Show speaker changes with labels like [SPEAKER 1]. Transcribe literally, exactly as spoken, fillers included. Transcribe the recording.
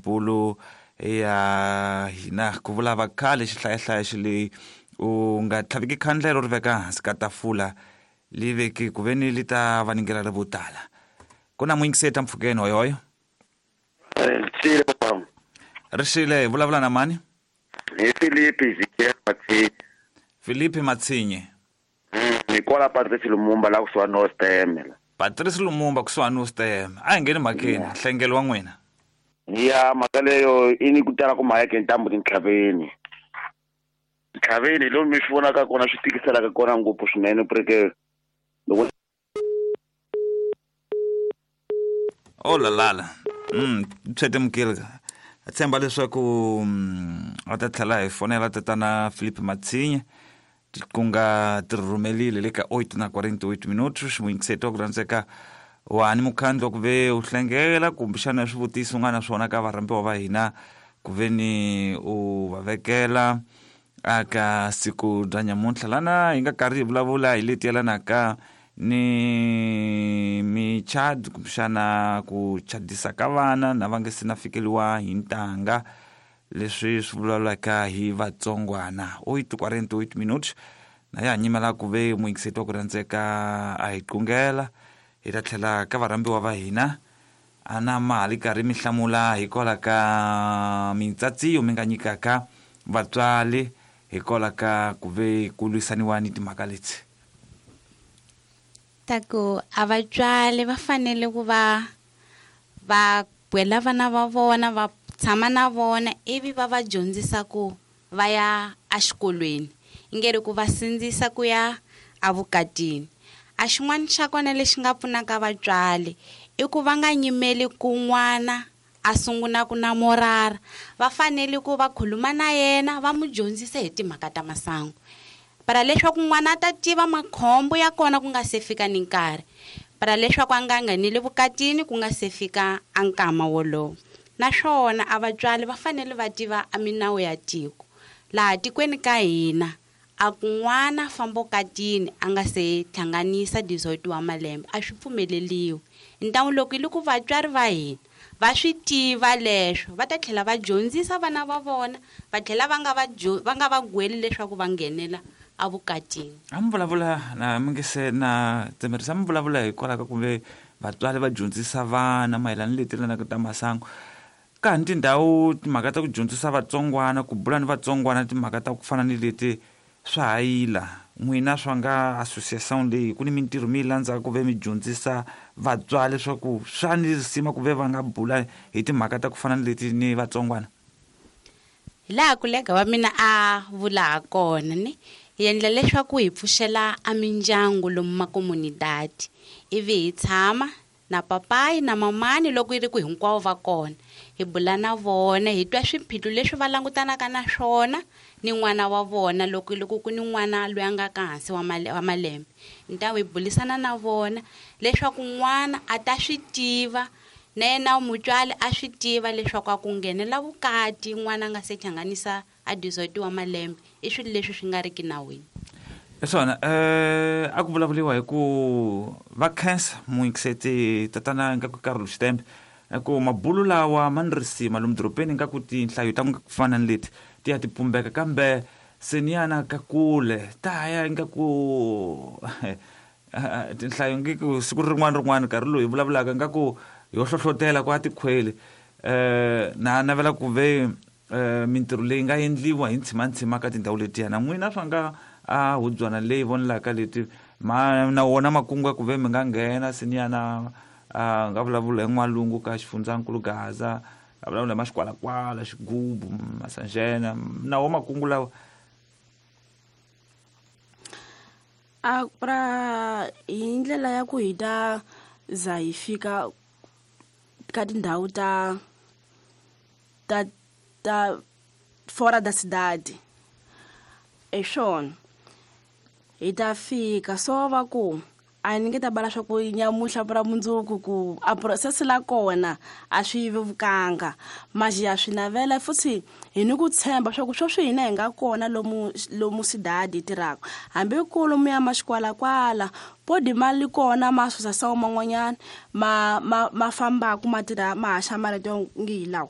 [SPEAKER 1] mabulu ya hina ku vula va khale xihlayahlaya xi leyi u nga tlhaviki khandlelo ri veka hansi ka tafula li veki ku ve ni li ta vaningela ri vo tala. Ku na muyingiseti mpfhukeni hoyohoyo.
[SPEAKER 2] Rixile papa.
[SPEAKER 1] Rixile, hi vulavula na mani?
[SPEAKER 2] Hi Filipe Ezekiel Matsinye.
[SPEAKER 1] Filipe Matsinye.
[SPEAKER 2] Mm, hi kwala Patrice Lumumba la kusuhani no Stem.
[SPEAKER 1] Patrice Lumumba kusuhani no Stem. A hi ngheni mhakeni, nhlengelo wa n'wina.
[SPEAKER 2] Ya mhaka leyo i ni ku tala ku mhaka ntambu tintlhaveni. Ntlhaveni lomu mi swi vonaka kona swi tikiselaka kona ngopfu swinene porque loko
[SPEAKER 1] Oh la la la. Mm, tshete mukile. A tshemba leswaku a ta tlhela hi fonela tatana Filipe Matsinye ku nga ti rhumelile le ka oito na quarenta e oito minutos. Muyingiseti wa ku rhandzeka wani mukhandlu ku ve u hlengela kumbexana swivutiso u nga na swona ka varhambiwa va hina ku ve ni u va vekela aka siku bya nyamuntlha lana hi nga karhi hi vulavula hi leti yelanaka ni michad kumbexana ku chadisa ka vana na va nga se na fikeliwa hi ntanga leswi swi vulavulaka hi vatsongwana. Oito quarenta e oito minutos na ya nyimela ku ve muyingiseti wa ku rhandzeka a hi qungela hi ta tlhela ka varhambiwa va hina a na mali karhi mi hlamula hikwalaho ka mintsatsiyo mi nga nyikaka vatswari hikwalaho ka ku ve ku lwisaniwa ni timhaka leti.
[SPEAKER 3] Ta ku a vatswari va fanele ku va va gwela vana va vona va tshama na vona ivi va va dyondzisa ku va ya exikolweni i nge ri ku va sindzisa ku ya evukatini. A xin'wana xa kona lexi nga pfunaka vatswari i ku va nga nyimeli ku n'wana a sungula ku namorara, va fanele ku va khuluma na yena va n'wi dyondzisa hi timhaka ta masangu para leswaku n'wana a ta tiva makhombo ya kona ku nga se fika ni nkarhi, para leswaku a nga ngheneli vukatini ku nga se fika a nkama wolowo. Naswona a vatswari va fanele va tiva a minawu ya tiko laha tikweni ka hina a ku n'wana famba vukatini a nga se hlanganisa dezoito wa malembe a swi pfumeleliwi. Ntamu loko hi loko vatswari va hina va swi tiva leswo va ta tlhela va dyondzisa vana va vona va tlhela va nga va va nga va gweli leswaku va nghenela evukatini.
[SPEAKER 1] A mi vulavula na mi nge se na tsemerisa mi vulavula hikwalaho ka kumbe vatswari va dyondzisa vana mayelana ni leti yelanaka ta masangu. Ka ha ni tindhawu timhaka ta ku dyondzisa vatsongwana ku bula ni vatsongwana timhaka ta ku fana ni leti swa ha yila. N'wina swa nga association leyi ku ni mintirho mi yi landzaka ku ve mi dyondzisa vatswari leswaku swa ni risima ku ve va nga bula hi timhaka ta ku fana ni leti ni vatsongwana.
[SPEAKER 3] Hi laha kulega wa mina a vula ha kona ni hi endla leswaku hi pfuxela a mindyangu lomu makomunidadi ivi hi tshama na papayi na mamani loko yi ri ku hinkwavo va kona hi bula na vona hi twa swiphiqo leswi va langutanaka na swona ni n'wana wa vona loko loko ku ni n'wana loyi a nga ka hansi wa wa malembe. Ntawu hi bulisana na vona leswaku n'wana a ta swi tiva na yena mutswari a swi tiva leswaku a ku nghenela vukati n'wana a nga se hlanganisa a dezoito wa malembe i swilo leswi swi nga riki nawini.
[SPEAKER 1] Hiswona eh a ku vulavuriwa hi ku va khensa muyingiseti tatana nga ku Carol Xitembe ku mabulu lawa ma ni risima lomu dorobeni nga ku tinhlayo ta ku fana ni leti ti ya ti pumbeka kambe se ni yana ka kule ta ya nga ku tinhlayo nge ku siku rin'wana rin'wana nkarhi lowu hi vulavulaka nga ku yo hlohlotela ku a tikhweli eh na navela ku ve mintirho leyi nga endliwa hi ntshimantsima ka tindhawu letiya na n'wina swa nga a hubyana leyi vonelaka leti ma na wona makungu ya ku ve mi nga nghena se ni yana a nga vulavula hi n'walungu ka xifundzankulu Gaza a vulavula hi maxikwalakwala xigubu Masanjena na wo makungu lawa.
[SPEAKER 4] A pra hi ndlela ya ku hi ta za hi fika ka tindhawu ta ta ta fora da cidade e swona hi ta fika so va ku a ni nge ta bala swa ku nyamuhla ra mundzuku ku a process la kona a swi vevukanga mas ya swi navela futhi hi ni ku tshemba swa ku sweswi hina hi nga kona lomu lomu cidade hi tirhaka hambi ku lomu ya maxikwalakwala podi mali kona ma associação man'wanyana ma ma ma fambaka ma tirha ma haxa marito ngi hi lawa.